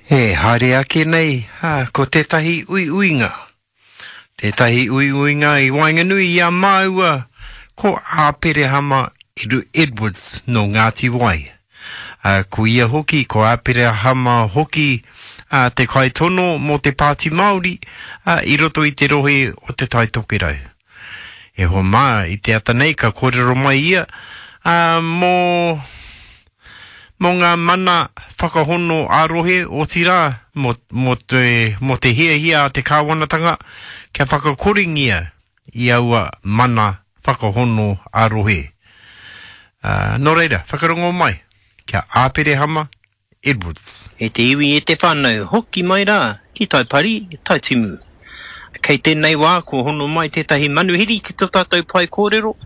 E haere ake nei, ā, ko tētahi uiuinga. Tētahi uiuinga i waenganui i a māua ko Āperehama Edwards nō Ngāti Wai. Ā, ko ia hoki, ko Āperehama hoki ā, te kaitono mō te Pāti Māori ā, i roto i te rohe o Te Tai Tokerau. E hoa mā, i te ata nei ka kōrero mai ia ā, mō mō ngā mana whakahono ā-rohe, otirā, mō, mō te, mō te hiahia a te kāwanatanga kia whakakorengia i aua mana whakahono ā-rohe. Ā, nō reira, whakarongo mai ki a Āperehama Edwards. E te iwi, e te whānau, hoki mai rā ki Taipari, Taitimu. Kei tēnei wā kua hono mai tētahi manuhiri ki tō tātou pae kōrero,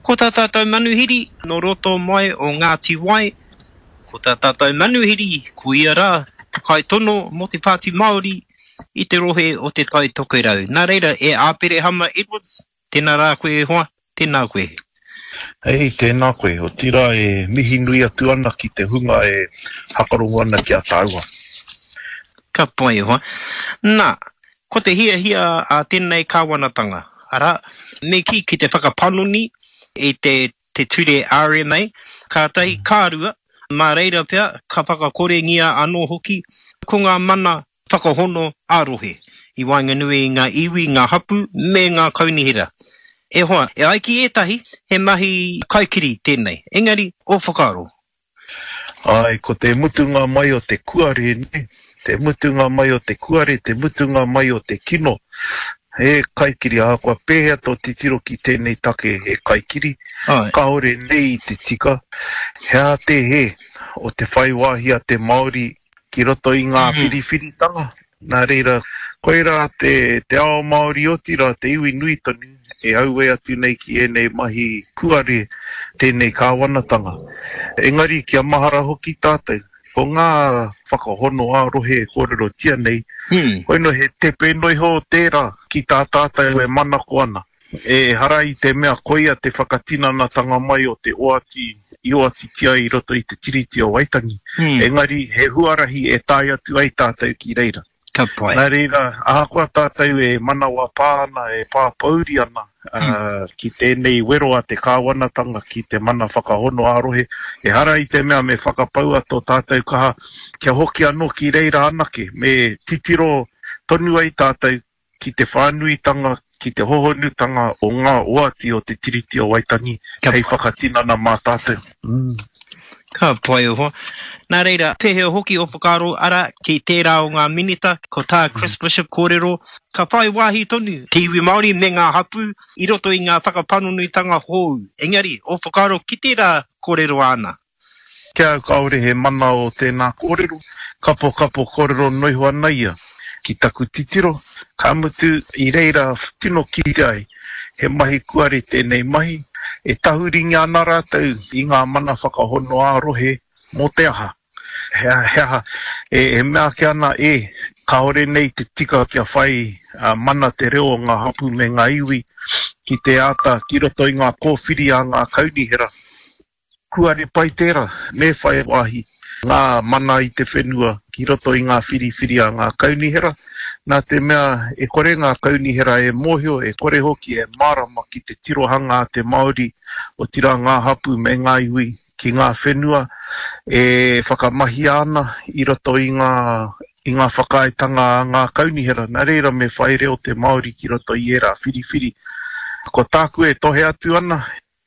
Ko tā tātou manuhiri nō roto mai o Ngāti Wai, ko tā tātou manuhiri ko ia rā te kaitono mō te Pāti Māori i te rohe o Te Tai Tokerau. Nā reira, e Āperehama Edwards, tēnā rā koe e hoa, tēnā koe. Hei, tēnā koe. Otirā e mihi nui atu ana ki te hunga e hakarongo ana ki a tāua. Ka pai e hoa. Nā, ko te hiahia a tēnei kāwanatanga, arā, me kī ki te whakapanoni i te te ture RMA, kātahi, ka rua, mā reira pea ka whakakorengia anō hoki ko ngā mana whakahono ā-rohe i waenganui i ngā iwi, ngā hapū me ngā kaunihera. E hoa, e ai ki ētahi, he mahi kaikiri tēnei, engari, ō whakaaro? Āe, ko te mutunga mai o te kuare, nē, te mutunga mai o te kuare, te mutunga mai o te kino. He kaikiri, ahakoa pēhea tō titiro ki tēnei take he kaikiri, kāore nei i te tika. He aha te hē o te whai wāhi a te Māori ki roto i ngā whiriwhiritanga? Nā reira, koirā te, te ao Māori otirā te iwi nui tonu e auē atu nei ki ēnei mahi kuare tēnei kāwanatanga. Engari kia mahara hoki tātou, ko ngā whakahono ā-rohe e kōrerotia nei, koinō he tepe noiho tērā ki tā tātou e manako ana. Ehara i te mea koia te whakatinanatanga mai o te oati i oatitia i roto i te Tiriti o Waitangi, engari he huarahi e tae atu ai tātou ki reira. Ka pai. Nā reira, ahakoa tātou e manawa pā ana, e pā pōuri ana ki tēnei wero a te kāwanatanga ki te mana whakahono ā-rohe, ehara i te mea me whakapaua tō tātou kaha kia hoki anō ki reira anake, me titiro tonu ai tātou ki te whānuitanga, ki te hohonutanga o ngā oati o te Tiriti o Waitangi hei whakatinana mā tātou. Ka pai e hoa. Nā reira, pēhea hoki ō whakaaro, arā, ki tērā o ngā minita, ko tā Chris Bishop kōrero, ka whai wāhi tonu te iwi Māori me ngā hapū i roto i ngā whakapanonitanga hōu. Engari, ō whakaaro ki tērā kōrero āna? Ki a au kāore he mana o tēnā kōrero, kapokapo kōrero noiho ana ia. Ki taku titiro, ka mutu i reira tino kite ai he mahi kuare tēnei mahi, e tahuringia ana rātou i ngā mana whakahono ā-rohe mō te aha? He aha e mea ake ana e, kāore nei te tika kia whai mana te reo o ngā hapū me ngā iwi ki te āta ki roto i ngā kōwhiri a ngā kaunihera. Kuare pai tērā, me whai wāhi ngā mana i te whenua ki roto i ngā whiriwhiri a ngā kaunihera, nā te mea e kore ngā kaunihera e mōhio, e kore hoki e mārama ki te tirohanga a te Māori, otirā ngā hapū me ngā iwi ki ngā whenua e whakamahia ana i roto i ngā i ngā whakaaetanga a ngā kaunihera, nā reira me whai reo te Māori ki roto i ērā whiriwhiri. Ko tāku e tohe atu ana,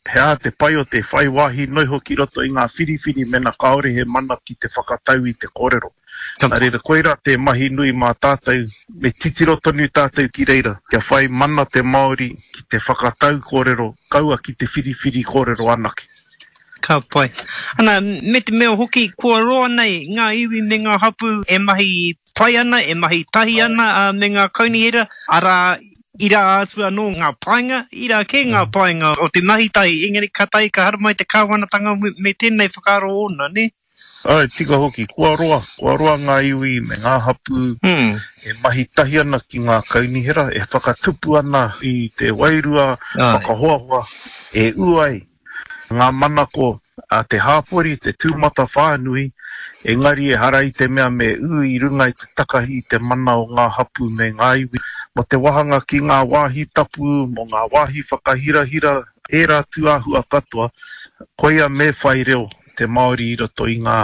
He aha te pai o te whai wāhi noiho ki roto i ngā whiriwhiri mena kāore he mana ki te whakatau i te kōrero? Nā reira, koirā te mahi nui mā tātou, me titiro tonu tātou ki reira, kia whai mana te Māori ki te whakatau kōrero, kaua ki te whiriwhiri kōrero anake. Ka pai. Ana, me te mea hoki, kua roa nei ngā iwi me ngā hapū e mahi pai ana, e mahi tahi ana me ngā kaunihera, arā, irā atu anō ngā painga, irā kē ngā painga o te mahi tahi, engari kātahi ka haramai te kāwanatanga me tēnei whakaaro ōna, nē? Āe, tika hoki, kua roa, kua roa ngā iwi me ngā hapū e mahi tahi ana ki ngā kaunihera, e whakatupu ana i te wairua whakahoahoa e ū ai. Ngā manako a te hāpori, te tūmatawhānui, engari ehara i te mea me ū i runga i te takahi i te mana o ngā hapū me ngā iwi. Mō te wāhanga ki ngā wāhi tapu, mō ngā wāhi whakahirahira, ērā tūāhua katoa, koia me whai reo te Māori i roto i ngā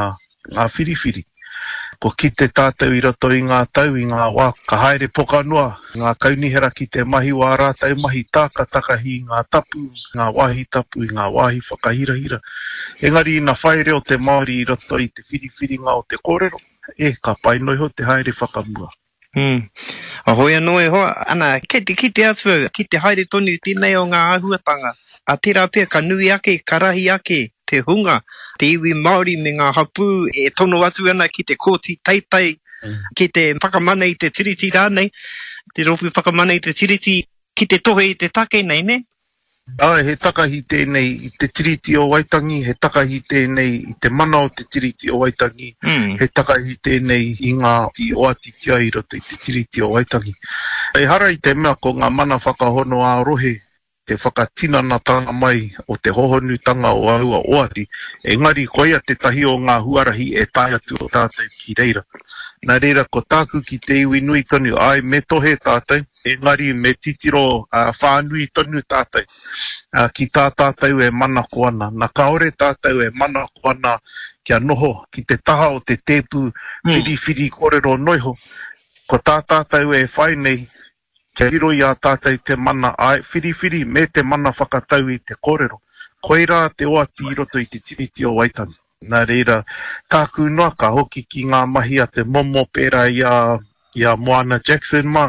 ngā whiriwhiri. Kua kite tātou i roto i ngā tau, i ngā wā ka haere poka noa ngā kaunihera ki te mahi wā rātou mahi tā, ka takahi i ngā tapu, ngā wāhi tapu, i ngā wāhi whakahirahira. Engari ina whai reo te Māori i roto i te whiriwhiringa o te kōrero, e, ka pai noa iho te haere whakamua. Mm. Hoi anō e hoa, ana, kei te kite atu au, ki te haere tonu tēnei o ngā āhuatanga, a tērā pea ka nui ake, ka rahi ake te hunga, te iwi Māori me ngā hapū e tono atu ana ki te kōti teitei, ki te whakamana i te Tiriti rānei, te Rōpū Whakamana i te Tiriti, ki te tohe i te take nei, nē? Āe, he takahi tēnei i te Tiriti o Waitangi, he takahi tēnei i te mana o te Tiriti o Waitangi, he takahi tēnei i ngā oatitia i roto i te Tiriti o Waitangi. Ehara i te mea ko ngā mana whakahono ā-rohe te whakatinanatanga mai o te hohonutanga o aua oati, engari koia tētahi o ngā huarahi e tae atu o tātou ki reira. Nā reira, ko tāku ki te iwi nui tonu, āe, me tohe tātou, Engari me titiro whānui tonu tātou ki tā tātou e manako ana. Na kāore tātou e manako ana kia noho ki te taha o te tēpu whiriwhiri kōrero noiho. Ko tā tātou e whai nei kia riro i a tātou te mana āe whiriwhiri me te mana whakatau i te kōrero. Koirā te oati i roto i te Tiriti o Waitangi. Nā reira, tāku noa ka hoki ki ngā mahi a te momo pērā i a, i a Moana Jackson mā,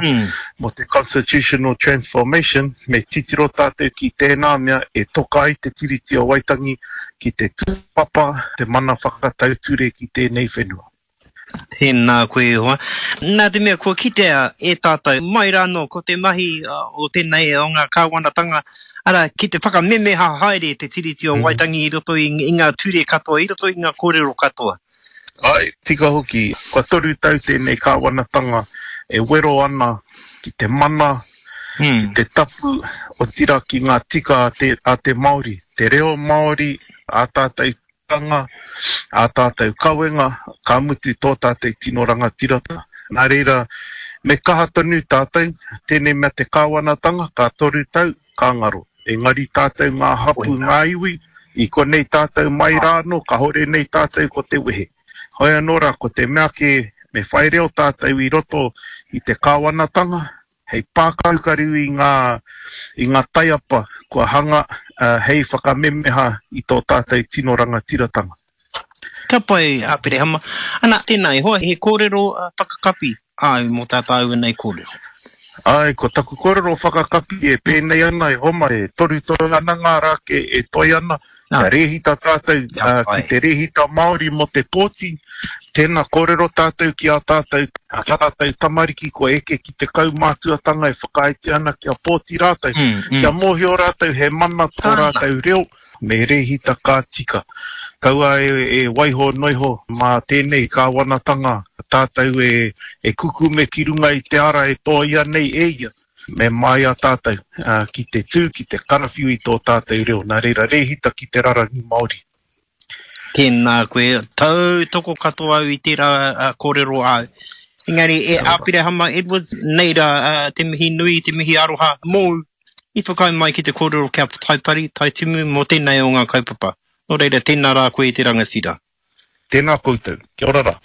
mō te Constitutional Transformation, me titiro tātou ki tēnā mea e toka ai te Tiriti o Waitangi ki te tūpapa, te mana whakatau ture ki tēnei whenua. Tēnā koe e hoa. Nā te mea kua kitea e tātou mai rānō ko te mahi o tēnei o ngā kāwanatanga, arā, ki te whakamemeha haere te Tiriti o Waitangi i roto i ngā ture katoa, i roto i ngā kōrero katoa. Āe, tika hoki. Kua toru tau tēnei kāwanatanga e wero ana ki te mana, ki te tapu, otirā ki ngā tika a te Māori, te reo Māori, ā tātou tikanga, ā tātou kawenga, ka mutu tō tātou tino rangatiratanga. Nā reira, me kaha tonu tātou, tēnei mea te kāwanatanga, ka toru tau, ka ngaro. Engari tātou ngā hapū, ngā iwi, i konei tātou mai rā anō, kahore nei tātou ko te wehe. Hoi anō rā, ko te mea kē, me whai reo tātou i roto i te kāwanatanga, hei pākarukaru i ngā, i ngā taiapa kua hanga hei whakamemeha i tō tātou tino rangatiratanga. Ka pai, Aperehama. Ana, tēnā e hoa, he kōrero whakakapi āu mō tā tāua nei kōrero. Āe, ko taku kōrero whakakapi e pēnei ana, e homa, e torutoru ana ngā rā ke e toe ana, kia rēhita tātou ki te rēhita Māori mō te pōti, tēnā kōrero tātou ki ā tātou, ā tātou tamariki kua eke ki te kaumātuatanga e whakaaetia ana kia pōti rātou, kia mōhio rātou he mana tō rātou reo, me rēhita ka tika. Kaua e waiho noiho mā tēnei kāwanatanga tātou e kukume ki runga i te ara e tōia nei e ia. Me māia tātou ki te tū, ki te karawhiu i tō tātou reo, nā reira rēhita ki te rarangi Māori. Tēnā koe, tautoko katoa au i tērā kōrero āu. Engari e Āpirahama Edwards, nei rā te mihi nui, te mihi aroha mōu i whakaae mai ki te kōrero ki a Taipari, Taitimu mō tēnei o ngā kaupapa. Nō reira, tēnā rā koe e te rangatira. Tēnā koutou. Kia ora rā.